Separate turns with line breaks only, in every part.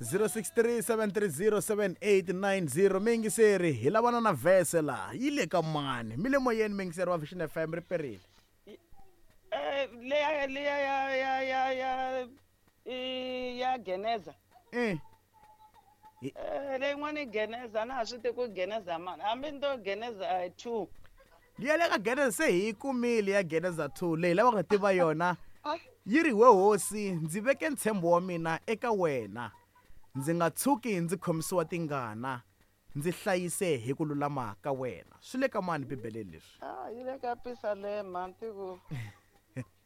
063-730-7890. Miyingiseri, hi lavana na vhese laha yi le ka mani? Mi le moyeni, miyingiseri wa Vision FM, ri perile.
Leya leya ya i ya Geneza. Leyin'wana i Geneza, na ha swi tivi ku Geneza mani, hambi ni to Geneza 2.
Liya le ka Geneza se hi yi kumile ya Geneza 2, leyi lavaka ku tiva yona yi ri, we hosi, ndzi veke ntshembo wa mina eka wena, ndzi nga tshuki ndzi khomisiwa tingana, ndzi hlayise hi ku lulama ka wena. Swi le ka mani Bibeleni leswi?
Ah, yi le ka Pisalema, ntiku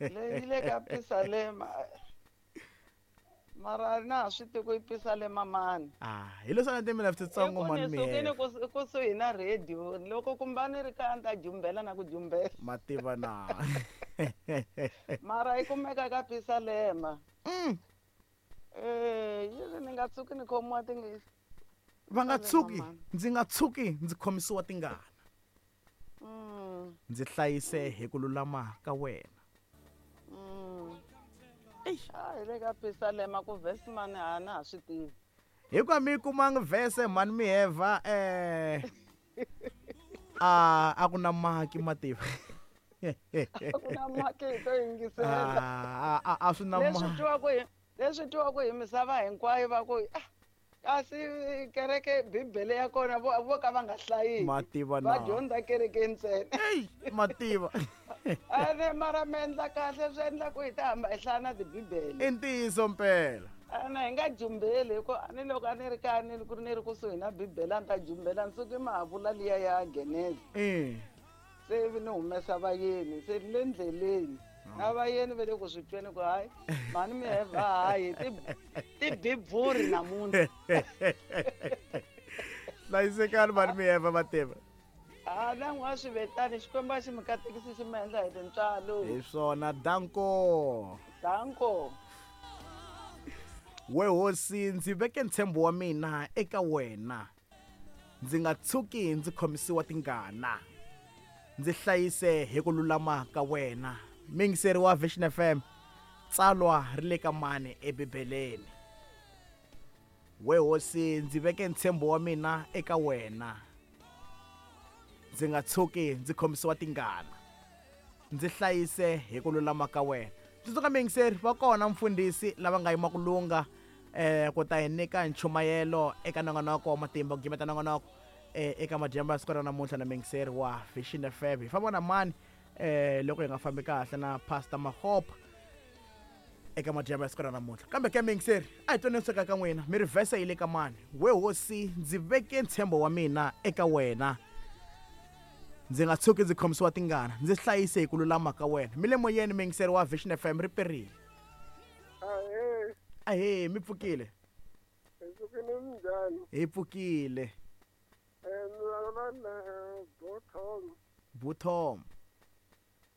leyi yi le ka Pisalema, mara na ha swi tivi ku i Pisalema mani.
Ah, hi leswi a ni timina titsongo mani.
Ni sukile kusuhi na radio, loko kumba ni ri kaya ni ta jumbela na ku jumbela.
Mativa na.
Mara yi kumeka ka Pisalema. Yi ri ni nga tshuki ni khomiwa tingana.
Va nga tshuki, ndzi nga tshuki ndzi khomisiwa tingana. Ndzi hlayise hi ku lulama ka wena.
Eish. Ah, hi le ka Pisalema ku verse mani a na ha swi tivi.
Hikuva mi yi kumanga verse mani miheva, a ku na maki mativa.
A ku na maki hi to yingisela.
A swi na
Leswi twiwaka hi, leswi twiwaka hi misava hinkwayo va ku, ah, kasi kereke Bibele ya kona vo ka va nga hlayi.
Mativa
na. Va dyondza kereke ntsena.
Ey, mativa.
Ene mara mi endla kahle, swi endla ku hi ta hamba hi hlaya na tibibele.
I ntiyiso mpela.
Ene hi nga jumbeli, hi ku a ni loko a ni ri kaya ni ku ni ri kusuhi na Bibele a ni ta jumbela, ni suke ma ha vula liya ya Geneza. Se ivi ni humesa vayeni, se ni le ndleleni. Na vayeni va le ku swi tweni ku hayi, mhani mi heva hayi, tibibvuri namuntlha.
Hlayisekani mhani mi heva mativa.
Ah, na n'wa swi vetani, Xikwembu a xi mi katekisi xi mi endla hi tintswalo.
Hi swona, danko.
Danko.
We hosi, ndzi veke ntshembo wa mina eka wena, ndzi nga tshuki ndzi khomisiwa tingana, ndzi hlayise hi ku lulama ka wena. Miyingiseri wa Vision FM, tsalwa ri le ka mani eBibeleni? We hosi, ndzi veke ntshembo wa mina eka wena, ndzi nga tshuki ndzi khomisiwa tingana, ndzi hlayise hi ku lulama ka wena. Tsundzuka miyingiseri, va kona mfundhisi lava nga yima ku lunga, ku ta hi nyika nchumayelo eka nongonoko wa matimba, ku gimeta nongonoko, eka madyambu ya siku ra namuntlha na miyingiseri wa Vision FM. Hi famba na mani, loko hi nga fambi kahle na Pastor Mahopa eka madyambu ya siku ra namuntlha. Kambe ke miyingiseri, a hi tweni sweka ka n'wina, mi ri vhese yi le ka mani? We hosi, ndzi veke ntshembo wa mina eka wena, ndzi nga tshuki ndzi khomisiwa tingana, ndzi hlayise hi ku lulama ka wena. Mi le moyeni, miyingiseri wa Vision FM, ri perile.
Ahee.
Ahee, mi pfukile?
Hi pfukile, minjhani?
Hi pfukile.
Ni vulavula na Buthom.
Buthom.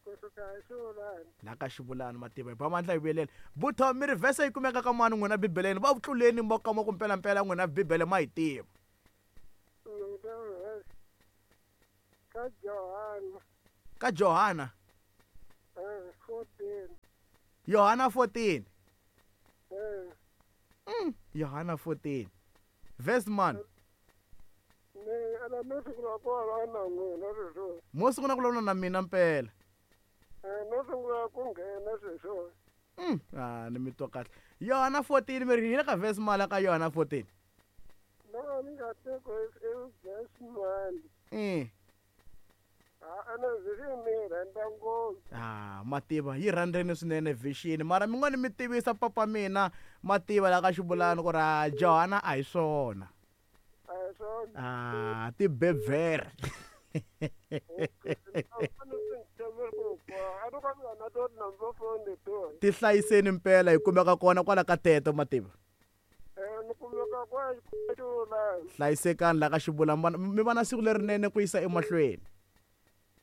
Kusuka hi Xivulani.
La ka Xivulani, mativa hi ba mandla hi vuyelela. Buthom, mi ri vhese yi kumeka ka mani n'wina Bibeleni? Va tluleni mo ka mo ku mpela mpela n'wina Bibele ma yi tiva.
Ka Johana.
Ka Johana?
14.
Yohana 14. Yohana 14. Verse man.
Ni ala no sungula ku vulavula na n'wina sweswo.
Mo sungula ku vulavula na mina mpela.
No sungula ku nghena sweswo.
Ah, ni mi twa kahle. Yohana 14, mi ri hi le ka verse mali ka Yohana 14.
No, ni nga tivi ku i verse mali. Ah, ana vision ni rhandza ngopfu.
Ah, mativa yi rhandzeni swinene vision, mara mi ngo ni mi tivisa papa mina mativa la ka Xivulani ku ri, ah, Johana a hi swona.
A hi swona.
Ah, tibebvere. Tihlayiseni mpela, hi kumeka kona kwala ka teto mativa.
Ni kumeka kwa Xivulani.
Hlayisekani la ka Xivulani, mi va na siku lerinene ku yisa emahlweni.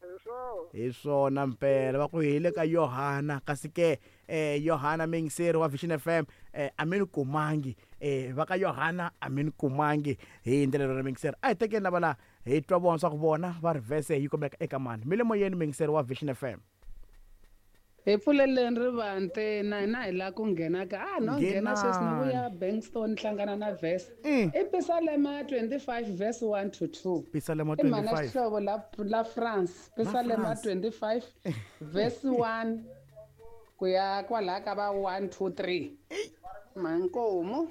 Hi swona.
Hi swona mpela, va ku hi le ka Yohana, kasi ke, Yohana miyingiseri wa Vision FM, a mi ni kumangi, va ka Yohana a mi ni kumangi hi ndlela yona miyingiseri. A hi tekeni lava la hi twa vona swa ku vona va ri verse yi kumeka eka mani. Mi le moyeni miyingiseri wa Vision FM.
Hi pfuleleni rivanti na hina hi lava ku nghena ka a no nghena sweswi ni vuya Bankstone hlangana na verse. I Pisalema 25 verse 1 to 2.
Pisalema
I mhana
25.
Xihlovo la France. Pisalema
France.
25 verse 1 ku ya kwalaya ka va 1 2 3. Mankomu.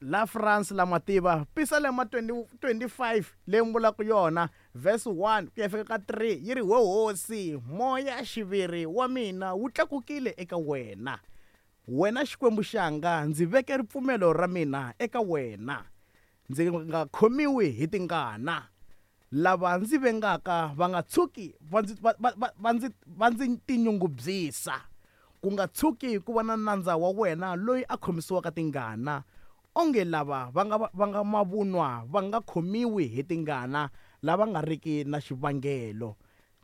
La France la mativa Pisalema 20 25 leyi mi vulaka yona verse 1 ku ya fika ka 3 yi ri we hosi moya xiviri wa mina wu tlakukile eka wena wena Xikwembu xanga ndzi veke ripfumelo ra mina eka wena ndzi nga khomiwi hi tingana lava ndzi vengaka va nga tshuki va ndzi va va va ndzi va ndzi tinyungubyisa ku nga tshuki ku va na nandza wa wena loyi a khomisiwaka tingana onge lava va nga mavunwa va nga khomiwi hi tingana lava nga riki na xivangelo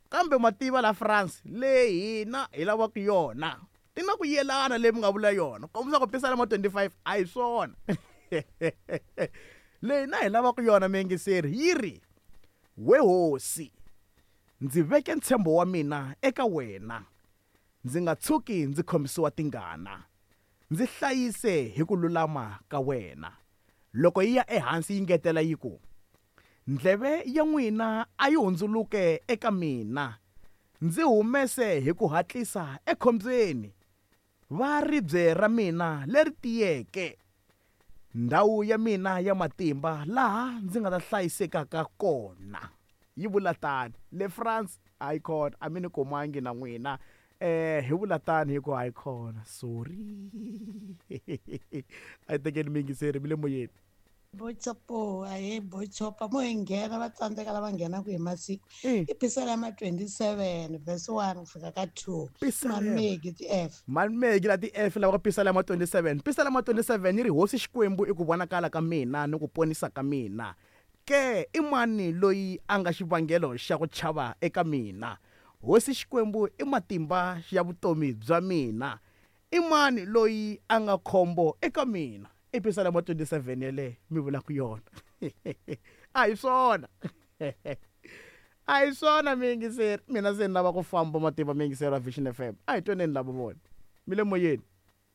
kambe mativa la France leyi hina hi lavaka yona ti na ku yelana leyi mi nga vula yona kombisa ku Pisalema 25 a hi swona leyi na hi lavaka yona miyingiseri yi ri we hosi ndzi veke ntshembo wa mina eka wena ndzi nga tshuki ndzi khomisiwa tingana ndzi hlayise hi ku lulama ka wena loko yi ya ehansi yi ngetela yi ku ndleve ya n'wina a yi hundzuluke eka mina ndzi humese hi ku hatlisa ekhombyeni va ribye ra mina leri tiyeke ndhawu ya mina ya matimba laha ndzi nga ta hlayisekaka kona yi vula tani le France a yi kona a mi ni kumangi na n'wina hi vula tani hi ku a yi kona sorry a yi tekeni miyingiseri mi le moyeni
Bochopo ahe bochopa mo hi nghena va tsandzeka lava nghenaka hi masiku i Pisalema 27 verse 1 ku fika ka 2. Mamegi ti F.
Mamegi la ti F lava ka Pisalema 27. Pisalema 27 yi ri hosi Xikwembu i ku vonakala ka mina ni ku ponisa ka mina ke i mani loyi a nga xivangelo xa ku chava eka mina hosi Xikwembu i matimba ya vutomi bya mina i mani loyi a nga khombo eka mina i Pisalema 27 yeleyo mi vulaka yona a hi swona a hi swona miyingiseri mina se ni lava ku famba matimba miyingiseri wa Vision FM a hi tweneni lava vona mi le moyeni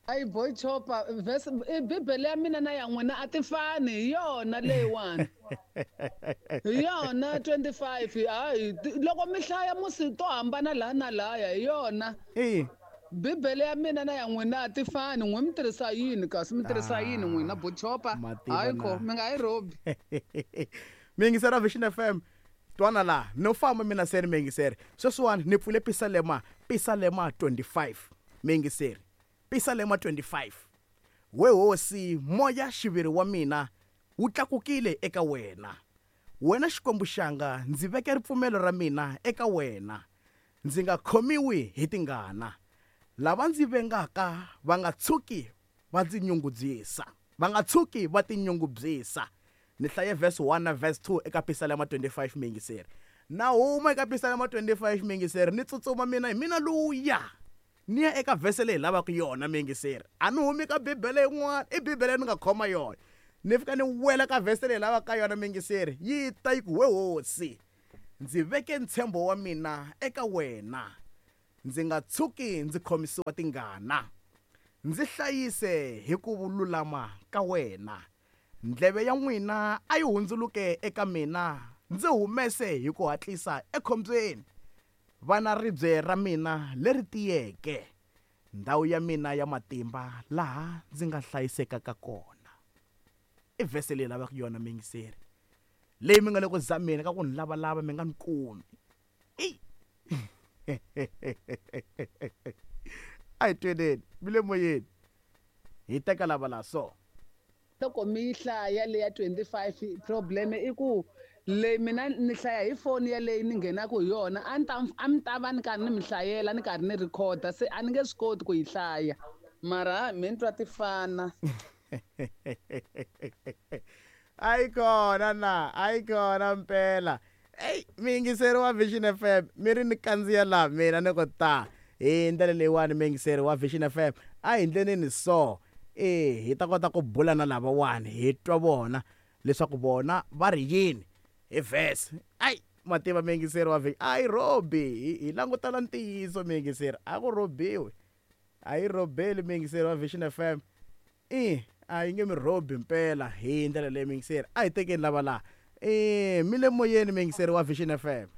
Ayi boy chopa verse Bibele ya mina na ya n'wina a ti fani hi yona leyiwani hi yona 25 hayi loko mi hlaya musi to hambana laha na lahaya hi yona Bibele ya mina na ya n'wina a ti fani n'we mi tirhisa yini kasi mi tirhisa yini n'wina bochopa hayi kho mi nga yi robi
miyingiseri wa Vision FM twana laha no famba mina se ni miyingiseri sweswiwani ni pfule Pisalema Pisalema 25 miyingiseri Pisalema 25 we hosi moya xiviri wa mina wu tlakukile eka wena wena Xikwembu xanga ndzi veke ripfumelo ra mina eka wena ndzi nga khomiwi hi tingana lava ndzi vengaka va nga tshuki va ndzi nyungubyisa va nga tshuki va tinyungubyisa ni hlaye verse 1 na verse 2 eka Pisalema 25 miyingiseri na huma eka Pisalema 25 miyingiseri ni tsutsuma mina hi mina luya ni ya eka verse leyi lavaka yona miyingiseri a ni humi ka Bibele yin'wana i Bibele ni nga khoma yona ni fika ni wela ka verse leyi lavaka yona miyingiseri yi ta yi ku we hosi ndzi veke ntshembo wa mina eka wena ndzi nga tshuki ndzi khomisiwa tingana ndzi hlayise hi ku lulama ka wena ndleve ya n'wina a yi hundzuluke eka mina ndzi humese hi ku hatlisa ekhombyeni vana ribye ra mina leri tiyeke ndhawu ya mina ya matimba laha ndzi nga hlayisekaka kona i verse leyi lavaka yona miyingiseri leyi mi nga le ku zameni ka ku ni lavalava mi nga ni kumi a hi tweneni mi le moyeni hi teka lava la so
loko mi yi hlaya leya 25 problem i ku leyi mina ni hlaya hi foni yaleyi ni nghenaka hi yona a ni ta a mi ta va ni karhi ni mi hlayela ni karhi ni rhikhoda se a ni nge swi koti ku yi hlaya mara mi ni twa ti fana
a yi kona na a yi kona mpela eyi miyingiseri wa Vision FM mi ri ni kandziya laha mina ni ku ta hi ndlela leyiwani miyingiseri wa Vision FM a hi ndleneni so hi ta kota ku bula na lavawani hi twa vona leswaku vona va ri yini hi verse ayi Mativa miyingiseri wa vhiki a yi rhobi, hi langutana ntiyiso miyingiseri, a ku rhobiwi, a yi rhobeli miyingiseri wa Vision FM. A yi nge mi rhobi mpela hi ndlela leyi miyingiseri. A hi tekeni lava laha. Mi le moyeni miyingiseri wa Vision FM.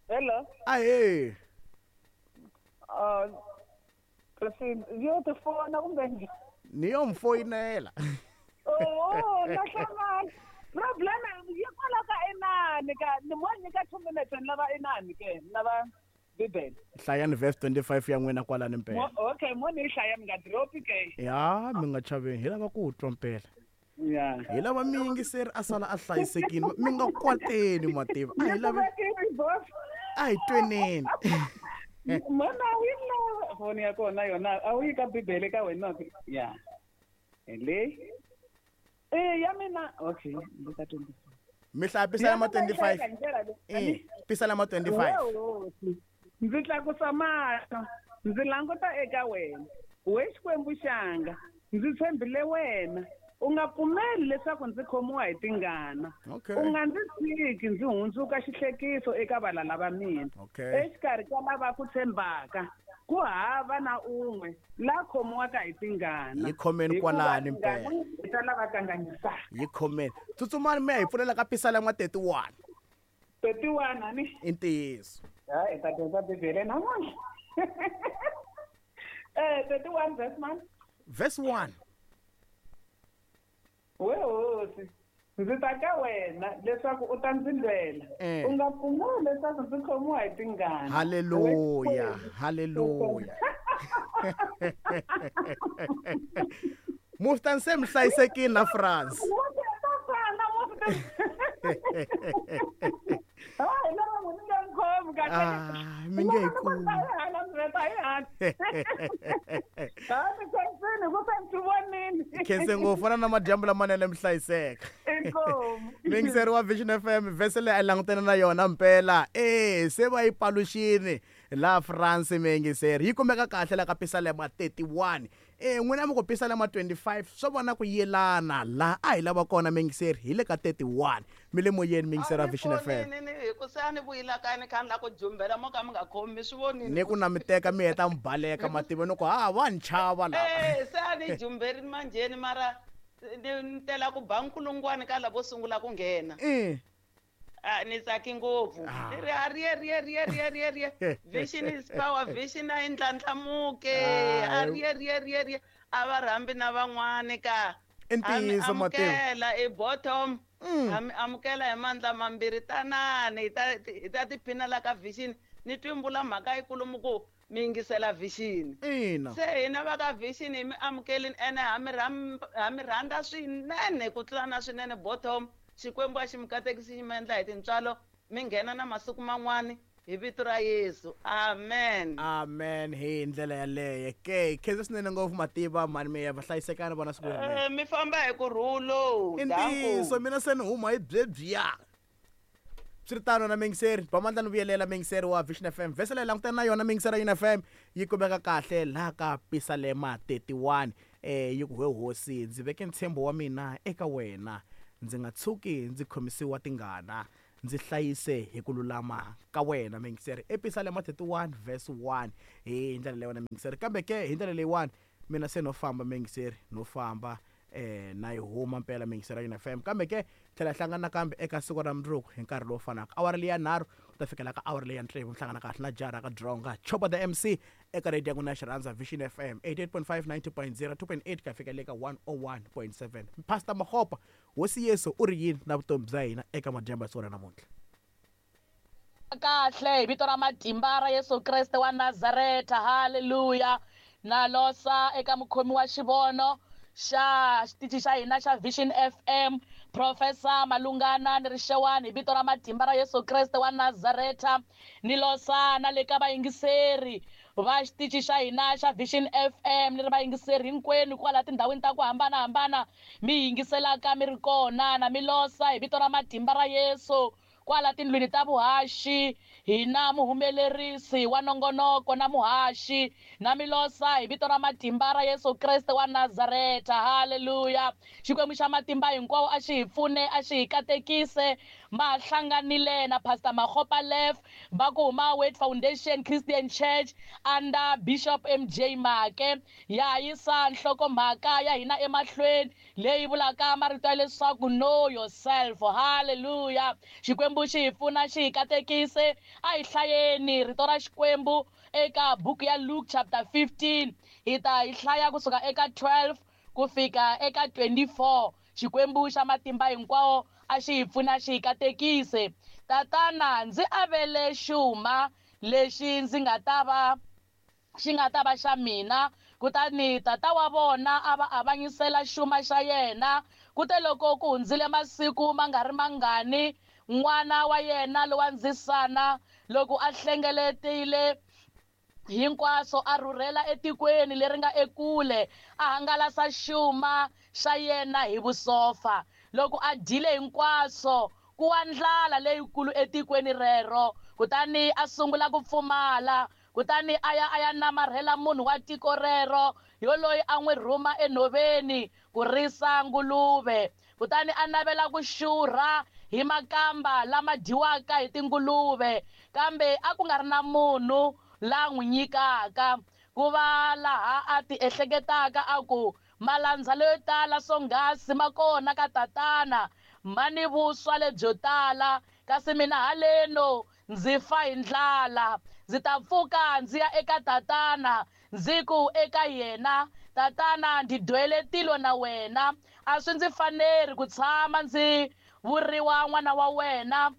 Hello.
Ahee.
Yo tifona kumbe njhani?
Ni yo mi foyinela.
Oh, na hlamala. Problem yi kwala ka inani ka ni mo nyika 2 minutes ni lava inani ke ni lava Bibele.
Hlayani verse 25 ya n'wina kwalani mpela.
Okay, mo ni hlaya mi nga dropi ke.
Ya, mi nga chaveni, hi lava ku twa mpela.
Ya.
Hi lava miyingiseri a sala a hlayisekile, mi nga kwateni mativa. A hi lava a hi tweneni.
Mona wi lava foni ya kona yona a wu yi ka Bibele ka wena ke. Ya. Le. Ya mina okay, le ka 25.
Mi hlaya Pisalema 25. Pisalema 25.
Ndzi tlakusa mahlo, ndzi languta eka wena. We Xikwembu xanga, ndzi tshembile wena. U nga pfumeli leswaku ndzi khomiwa hi tingana. U nga ndzi tshiki ndzi hundzuka xihlekiso eka valala va mina. Exikarhi ka lava ku tshembaka, ku hava na un'we la khomiwaka hi tingana.
Yi khomeni kwalani mpela.
Ta lava kanganyisaka.
Yi khomeni. Tsutsumani mi ya hi pfulela ka Pisalema 31.
31 ani?
I ntiyiso.
Ha, hi ta dyondza Bibele namuntlha. 31 verse 1.
Verse 1.
We hosi, ndzi ta ka wena leswaku u ta ndzi lwela. U nga pfumeli leswaku ndzi khomiwa hi tingana.
Haleluya, haleluya. Muftan se mi hlayisekile na France. Mi nge hi kumi. Khense ngopfu fana na madyambu lamanene mi hlayiseka. Miyingiseri wa Vision FM, vhese leyi a langutene na yona mpela. Se va yi paluxini la France miyingiseri. Yi kumeka kahle la ka Pisalema 31. N'wina mi ku Pisalema 25 swo vona ku yelana la a hi lava kona miyingiseri hi le ka 31. Mi le moyeni miyingiseri wa Vision FM.
Hi ku se a ni vuyila kaya ni kha ni la ku jumbela mo ka mi nga khomi swi vonini.
Ni ku na mi teka mi heta mi baleka mativa ni ku ha va ni chava lava.
Se a ni jumberini manjheni mara ni tela ku ba nkulungwani ka lavo sungula ku nghena. Ni tsaki ngopfu. Ni ri a riye riye riye riye riye riye. Vision is power, vision a yi ndlandlamuke. A riye riye riye riye. A va rhambi na van'wani ka.
I ntiyiso mativa.
Amukela i bottom. Amukela hi mandla mambirhi tanani hi ta tiphina la ka Vision. Ni twimbula mhaka yikulu ku mi yingisela Vision.
Ina.
Se hina va ka Vision hi mi amukelini ene ha mi rhandza swinene ku tlula na swinene bottom. Xikwembu a xi mi katekisi xi mi endla hi tintswalo mi nghena na masiku man'wani hi vito ra Yesu. Amen.
Amen. Hi ndlela yaleyo ke khensa swinene ngopfu mativa mhani mi ya va hlayisekani vona siku rinene.
Mi famba hi kurhulo.
I ntiyiso mina se ni huma hi byebyiya. Swi ri tano na miyingiseri, ba mandla ni vuyelela miyingiseri wa Vision FM. Vhese leyi langutana na yona miyingiseri ya FM yi kumeka kahle laha ka Pisalema 31. Yi ku we hosi, ndzi veke ntshembo wa mina eka wena. Ndzi nga tshuki ndzi khomisiwa tingana, ndzi hlayise hi ku lulama ka wena miyingiseri. Episalema 31 verse 1 hi ndlela leyi wena miyingiseri. Kambe ke hi ndlela leyiwani mina se no famba miyingiseri, no famba na yi huma mpela miyingiseri ya FM. Kambe ke tlhela hlangana nakambe eka siku ra mundzuku hi nkarhi lowu fanaka. Awara leyi ya 3 ku ta fikela ka awara leyi ya 6 mi hlangana kahle na Jara ka Dronga Chopa the MC eka radio ya n'wina ya xirhandza Vision FM 88.5 90.0 2.8 ka fika le ka 101.7. Pastor Mahopa, Hosi Yesu u ri yini na vutomi bya hina eka madyambu ya siku ra namuntlha?
Kahle hi vito ra matimba ra Yesu Kreste wa Nazareta. Haleluya. Na losa eka mukhomi wa xivono xa xitichi xa hina xa Vision FM, Professor Malungana ni Rixewani hi vito ra matimba ra Yesu Kreste wa Nazareta. Ni losa na le ka vayingiseri va xitichi xa hina xa Vision FM, ni ri vayingiseri hinkwenu kwala tindhawini ta ku hambanahambana mi yingiselaka mi ri kona. Na mi losa hi vito ra matimba ra Yesu Kwala tindlwini ta vuhaxi hina muhumelerisi wa nongonoko na muhaxi na milosa hi vito ra matimba ra Yesu Kreste wa Nazareta. Haleluya. Xikwembu xa matimba hinkwawo a xi hi pfune, a xi hi katekise. Ma hlanganile na Pastor Makgopa Lef va ku huma Word Foundation Christian Church under Bishop MJ Make. Ya yisa nhlokomhaka ya hina emahlweni leyi vulaka marito ya leswaku know yourself. Haleluya. Xikwembu xi hi pfuna, xi hi katekise. A hi hlayeni rito ra Xikwembu eka buku ya Luke chapter 15. Hi ta hi hlaya kusuka eka 12 ku fika eka 24. Xikwembu xa matimba hinkwawo a xi hi pfuna, xi hi katekise. Tatana, ndzi avele xuma lexi ndzi nga ta va xi nga ta va xa mina. Kutani tata wa vona a va avanyisela xuma xa yena. Kute loko ku hundzile masiku ma nga ri mangani, n'wana wa yena lowa ndzisana loko a hlengeletile hinkwaswo a rhurhela etikweni leri nga ekule, a hangalasa xuma xa yena hi vusofa. Loko a dyile hinkwaswo, ku wa ndlala leyikulu etikweni rero, kutani a sungula ku pfumala. Kutani a ya a ya namarhela munhu wa tiko rero, yoloyi a n'wi rhuma enhoveni ku risa nguluve. Kutani a navela ku xurha hi makamba lama dyiwaka hi tinguluve, kambe a ku nga ri na munhu la n'wi nyikaka. Ku va laha a ti ehleketaka a ku, malandza leyo tala swonghasi ma kona ka tatana, ma ni vuswa lebyo tala, kasi mina haleno ndzi fa hi ndlala. Ndzi ta pfuka ndzi ya eka tatana, ndzi ku eka yena, tatana, ndzi dwele tilo na wena, a swi ndzi faneri ku tshama ndzi vuriwa n'wana wa wena,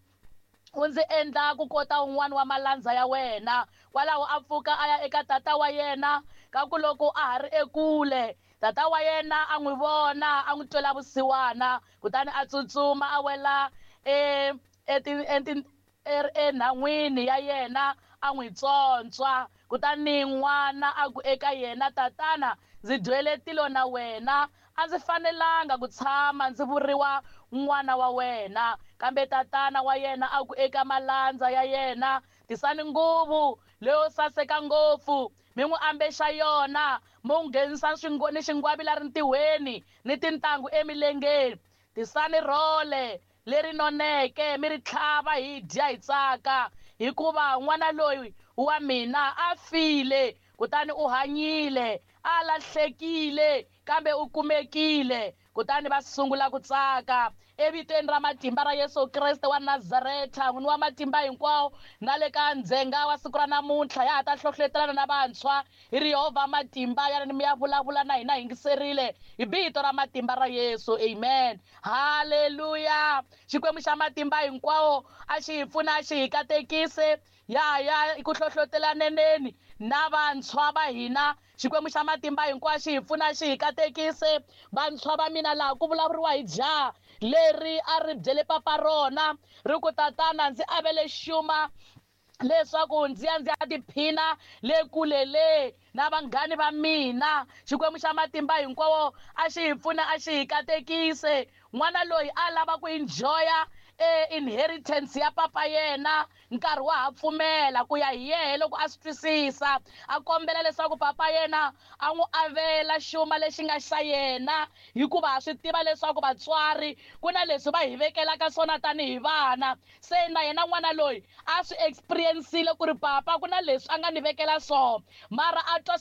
u ndzi endla ku kota un'wana wa malandza ya wena. Kwalaho a pfuka a ya eka tata wa yena. Kaku loko a ha ri ekule, tata wa yena a n'wi vona, a n'wi twela vusiwana, kutani a tsutsuma a wela enhan'wini ya yena, a n'wi tsontswa. Kutani n'wana a ku eka yena, tatana, ndzi dwele tilo na wena, a ndzi fanelanga ku tshama ndzi vuriwa n'wana wa wena. Kambe tatana wa yena a ku eka malandza ya yena, tisani nguvu leyo saseka ngopfu, mi n'wi ambexa yona, mi n'wi nghenisa ni xingwavila rintihweni ni tintangu emilengeni. Tisani rhole leri noneke, mi ri tlhava hi dya hi tsaka, hikuva n'wana loyi wa mina a file, kutani u hanyile, a lahlekile, kambe u kumekile. Kutani va sungula ku tsaka. Evitweni ra matimba ra Yesu Kreste wa Nazareta, n'wini wa matimba hinkwawo, na le ka ndzhenga wa siku ra namuntlha ya ha ta hlohletelana na vantshwa hi ri Yehovha matimba ya mi ya vulavula na hina yingiserile hi vito ra matimba ra Yesu. Amen. Haleluya. Xikwembu xa matimba hinkwawo a xi hi pfuna, a xi hi katekise. Ya ya ku hlohlotelaneneni na vantshwa va hina. Xikwembu xa matimba hinkwawo xi hi pfuna, xi hi katekise. Vantshwa va mina laha ku vulavuriwa hi jaha leri a ri byele papa rona, ri ku, tatana, ndzi avele xuma leswaku ndzi ya ndzi ya tiphina le kule le na vanghani va mina. Xikwembu xa matimba hinkwawo a xi hi pfuna, a xi hi katekise. N'wana loyi a lava ku enjoya inheritance ya papa yena, nkarhi wa ha pfumela ku ya hi yehe loko a swi twisisa, a kombela leswaku papa yena a n'wi avela xuma lexi nga xa yena, hikuva ha swi tiva leswaku vatswari ku na leswi va hi vekelaka swona tanihi vana. Se na yena n'wana loyi a swi experience-ile ku ri papa ku na leswi a nga ni vekela swona, mara a twa